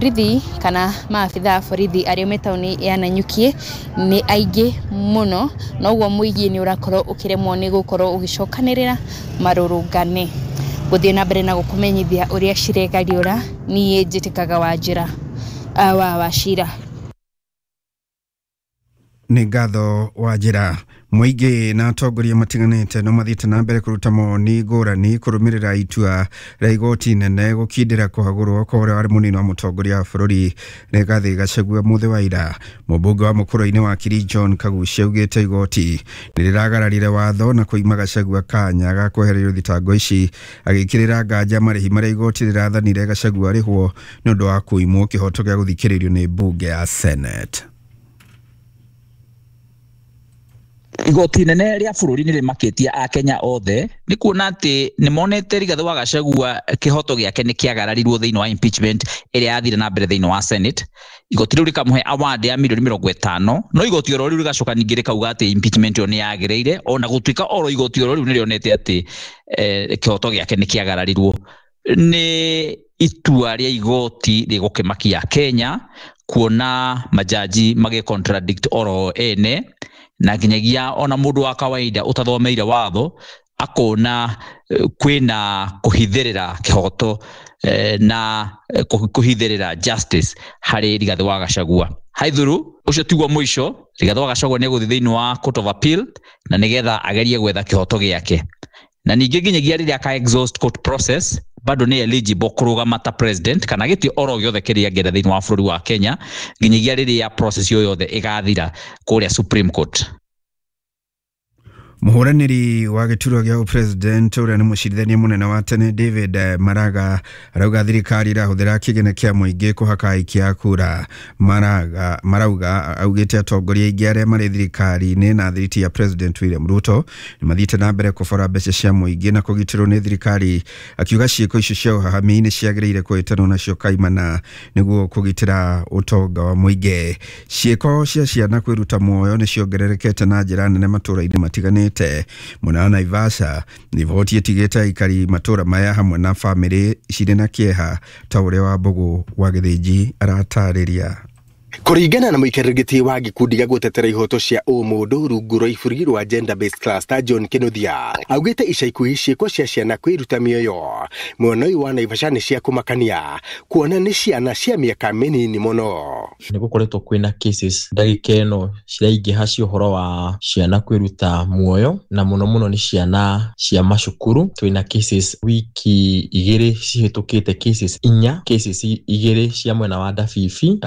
Borithi kana maabitha a borithi arĩa me taũni ya Nanyuki nĩ aingĩ mũno, noguo mũingĩ nĩ ũrakorwo ũkĩremwo nĩ gũkorwo ũgĩcokanĩrĩra marũrũngane. Gũthiĩ na mbere na gũkũmenyithia ũrĩa ciregariũra, niĩ njĩtĩkaga Wanjĩra wa Wachira. Nĩ ngatho wa njĩra. Mũingĩ na atongoria matiganĩte no mathiĩte na mbere kũruta mawoni ngũrani kũrũmĩrĩra itua rĩa igoti inene gũkindĩra kũhagũrwo kwa ũrĩa warĩ mũnini wa mũtongoria wa bũrũri Rigathĩ Gachagua mũthĩ wa ira. Mũmbunge wa Mũkũrũ-inĩ wakiri John Kaguchia augĩte igoti nĩ rĩragararire watho na kũima Gachagua kanya ga kwehererio thitango ici, agĩkĩrĩra nganja marĩhi marĩa igoti rĩrathanire Gachagua arĩhwo nĩ ũndũ wa kũimwo kĩhoto gĩa gũthikĩrĩrio nĩ mbunge ya Senate. Igoti inene rĩa bũrũri nĩ rĩmakĩtie akenya othe nĩ kuona atĩ nĩ monete Rigathĩ wa Gachagua kĩhoto gĩake nĩ kĩagararirwo thĩinĩ wa impeachment ĩrĩa yathire na mbere thĩinĩ wa Senate. Igoti rĩu rĩkamũhe award ya mirioni 50, no igoti oro rĩu rĩgacoka ningĩ rĩkauga atĩ impeachment ĩyo nĩ yagĩrĩire, ona gũtuĩka oro igoti oro rĩu nĩ rĩonete atĩ kĩhoto gĩake nĩ kĩagararirwo. Nĩ itua rĩa igoti rĩgũkĩmakia Kenya kuona majaji magĩ contradict oro ene, na nginyagia ona mũndũ wa kawaida ũtathomeire watho akona kwĩna kũhithĩrĩra kĩhoto na kũhithĩrĩra justice harĩ Rigathĩ wa Gachagua. Haithuru ũcio tiguo mũico, Rigathĩ wa Gachagua nĩ egũthiĩ thĩinĩ wa Court of Appeal na nĩgetha agerie gwetha kĩhoto gĩake, na ningĩ nginyagia rĩrĩa aka exhaust court process bado nĩ eligible kũrũgama ta president kana gĩtĩ oro gĩothe kĩrĩa angĩenda thĩinĩ wa bũrũri wa Kenya nginyagia rĩrĩa process ĩyo yothe ĩgathira kũrĩa Supreme Court. Mũhũranĩri wa gĩturwa gĩa president ũrĩa nĩ mũcirithania mũnene wa tene David Maraga arauga thirikari ĩrahũthĩra kĩgĩna kĩa mũingĩ kũhaka aikia a kura. Maraga marauga augĩte atongoria aingĩ arĩa marĩ thirikari-inĩ na thiriti ya President William Ruto nĩ mathiĩte na mbere kũbora mbeca cia mũingĩ na kũgitĩrwo nĩ thirikari, akiuga ciĩko icio cia ũhahami nĩ ciagĩrĩire kũhĩtanwo nacio kaimana nĩguo kũgitĩra ũtonga wa mũingĩ. Ciĩko cia ciana kwĩruta muoyo nĩ ciongererekete na njĩra nene matũũra-inĩ matiganĩte. Mwena wa Naivasha riboti ĩtigĩte aikari matũũra maya hamwe na bamĩrĩ cirĩ na kĩeha ta ũrĩa wa Mbũgũ wa Gĩthĩnji aratarĩria. Kũringana na mũikarĩri gĩtĩ wa gĩkundi gĩa gũtetera ihoto cia ũmũndũ rungu rwa iburi rwa Gender Based Cluster John Kinuthia augĩte ica ikuhĩ ciĩko cia ciana kwĩruta mĩoyo mwena ũyũ wa Naivasha nĩ cia kũmakania kuona nĩ ciana cia mĩaka mĩnini mũno. Nĩ gũkoretwo kwĩna cases ndagĩka ĩno ciraingĩha cia ũhoro wa ciana kwĩruta muoyo, na mũno mũno nĩ ciana cia macukuru. Twĩna cases wiki 2 cihĩtũkĩte, cases 4, cases 2 cia mwena wa Ndabibi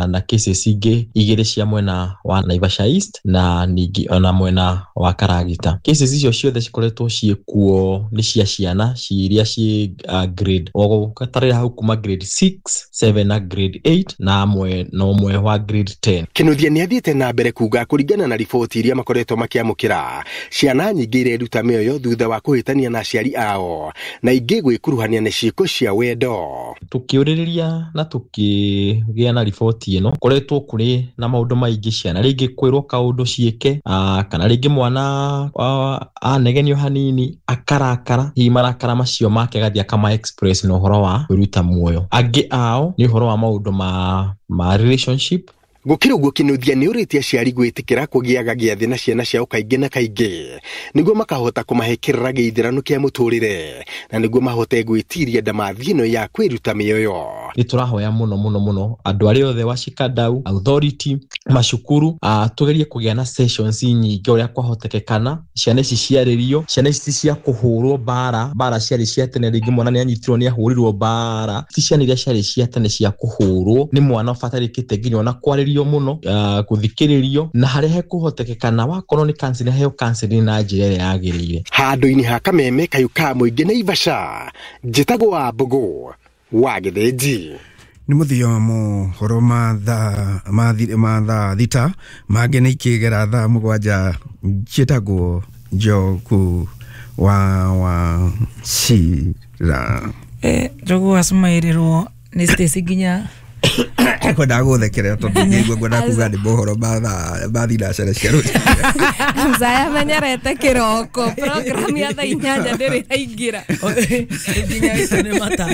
na cases ingĩ 2 cia mwena wa Naivasha East na ningĩ ona mwena wa Karagita. Cases icio ciothe cikoretwo ciĩkuo nĩ cia ciana iria ciĩ grade o hau kuma grade 6, 7 na grade 8 na mwena ũmwe wa grade 10. Kinuthia nĩ athiĩte na mbere kuga kũringana na riboti iria makoretwo makĩamũkĩra, ciana nyingĩ ireruta mĩoyo thutha wa kũhĩtania na aciari ao na ingĩ gwĩkuruhania na ciĩko cia wendo. Tũkĩũrĩrĩria na tũkĩgĩa na riboti ĩno, koretwo kũrĩ na maũndũ maingĩ, ciana rĩngĩ kwĩrwo kaũndũ ciĩke, kana rĩngĩ mwana anegenio hanini akarakara, hihi marakara macio make agathiĩ akama express na ũhoro wa kwĩruta muoyo. Angĩ ao nĩ ũhoro wa maũndũ ma relationship. Gũkĩrĩ ũguo Kinuthia nĩ ũrĩtie aciari gwĩtĩkĩra kũgĩaga gĩathĩ na ciana ciao kaingĩ na kaingĩ nĩguo makahota kũmahe kĩrĩra gĩithĩrano kĩa mũtũrĩre na nĩguo mahote gwĩtiria ndamathi ĩno ya kwĩruta mĩoyo. Nĩ tũrahoya mũno mũno mũno andũ arĩa othe washikadau, authority, macukuru, tũgerie kũgĩa na sessions nyingĩ ũrĩa kwahotekekana, ciana ici ciarĩrio, ciana ici ti cia kũhũrwo mbara, mbara ciarĩ cia tene, rĩngĩ mwana nĩ anyitirwo nĩ ahũrirwo mbara, ti ciana iria ciarĩ cia tene cia kũhũrwo, nĩ mwana ũbatarĩkĩte nginya ona kwarĩrio mũno, gũthikĩrĩrio, na harĩa hekũhotekekana wakorwo nĩ counseling, heo counseling na njĩra ĩrĩa yagĩrĩire. Handũ-inĩ ha Kameme kayũ ka mũingĩ Naivasha, njĩtagwo wa Mbũgũ wa Gĩthĩnji. Nĩ mũthia wa mohoro ma thaa 6 mangĩ nĩ ikĩgera thaa 7. Njĩtagwo Njoku wa Wachira. Njogu acumaĩrĩrwo nĩ Stacy nginya kwendaga gũthekerera tondũ ngĩigua ngwendaga kuga nĩ mohoro ma thinacara cia rũciũ. Mzaya menyerete kĩroko program ya thaa 8 ndĩrĩ yaingĩra nginya nĩ mata.